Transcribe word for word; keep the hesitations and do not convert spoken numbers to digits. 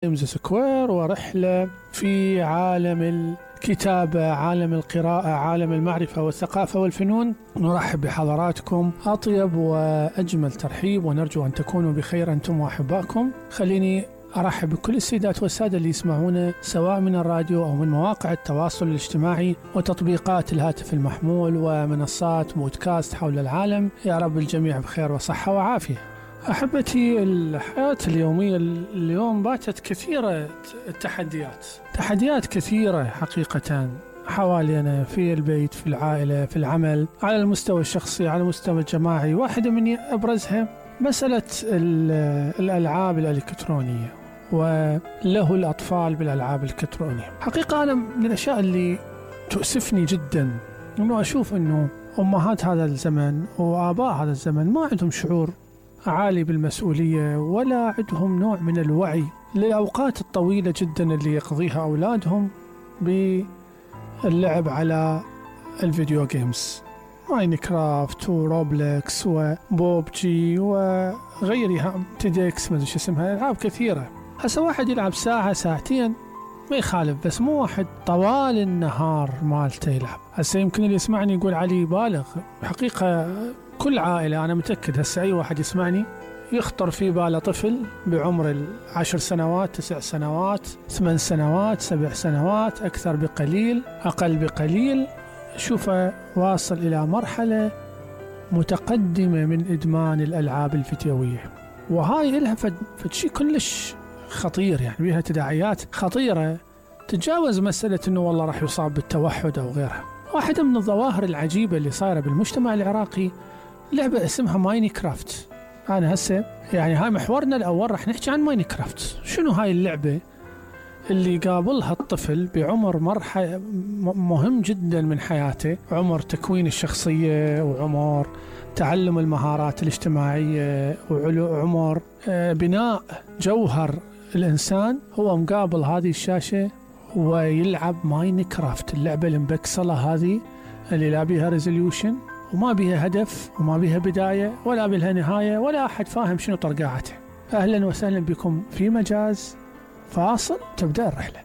جيمز سكوير، ورحلة في عالم الكتابة، عالم القراءة، عالم المعرفة والثقافة والفنون. نرحب بحضراتكم أطيب وأجمل ترحيب، ونرجو أن تكونوا بخير أنتم وأحبائكم. خليني أرحب بكل السيدات والسادة اللي يسمعونا سواء من الراديو أو من مواقع التواصل الاجتماعي وتطبيقات الهاتف المحمول ومنصات بودكاست حول العالم. يا رب الجميع بخير وصحة وعافية. أحبتي، الحياة اليومية اليوم باتت كثيرة التحديات تحديات كثيرة حقيقة حوالينا، في البيت، في العائلة، في العمل، على المستوى الشخصي، على المستوى الجماعي. واحدة من أبرزها مسألة الألعاب الإلكترونية وله الأطفال بالألعاب الإلكترونية. حقيقة أنا من الأشياء اللي تؤسفني جدا أنه أشوف أنه أمهات هذا الزمن وآباء هذا الزمن ما عندهم شعور عالي بالمسؤولية، ولا عندهم نوع من الوعي للأوقات الطويلة جدا اللي يقضيها أولادهم باللعب على الفيديو جيمز، ماينكرافت وروبلكس وبوبجي وغيرها، تيدكس، ما أدري شو اسمها، ألعاب كثيرة. هسه واحد يلعب ساعة ساعتين ما يخالف، بس مو واحد طوال النهار مالته يلعب. هسه يمكن اللي يسمعني يقول علي بالغ. حقيقة كل عائلة، أنا متأكد هسه أي واحد يسمعني يخطر في باله طفل بعمر العشر سنوات، تسع سنوات، ثمان سنوات، سبع سنوات، أكثر بقليل أقل بقليل، شوفه واصل إلى مرحلة متقدمة من إدمان الألعاب الفيديوية. وهاي إلها فد, فد شيء كلش خطير، يعني بيها تداعيات خطيرة تتجاوز مسألة أنه والله راح يصاب بالتوحد أو غيرها. واحدة من الظواهر العجيبة اللي صايرة بالمجتمع العراقي لعبة اسمها ماينكرافت. أنا هسه يعني هاي محورنا الأول، راح نحكي عن ماينكرافت. شنو هاي اللعبة اللي قابلها الطفل بعمر مرحلة مهم جدا من حياته، عمر تكوين الشخصية، وعمر تعلم المهارات الاجتماعية، وعمر بناء جوهر الإنسان. هو مقابل هذه الشاشة ويلعب ماينكرافت، اللعبة المبكسلة هذه اللي لا بيها ريزوليوشن وما بيها هدف وما بيها بداية ولا بيها نهاية، ولا أحد فاهم شنو طرقاعته. أهلا وسهلا بكم في مجاز فاصل، تبدأ الرحلة.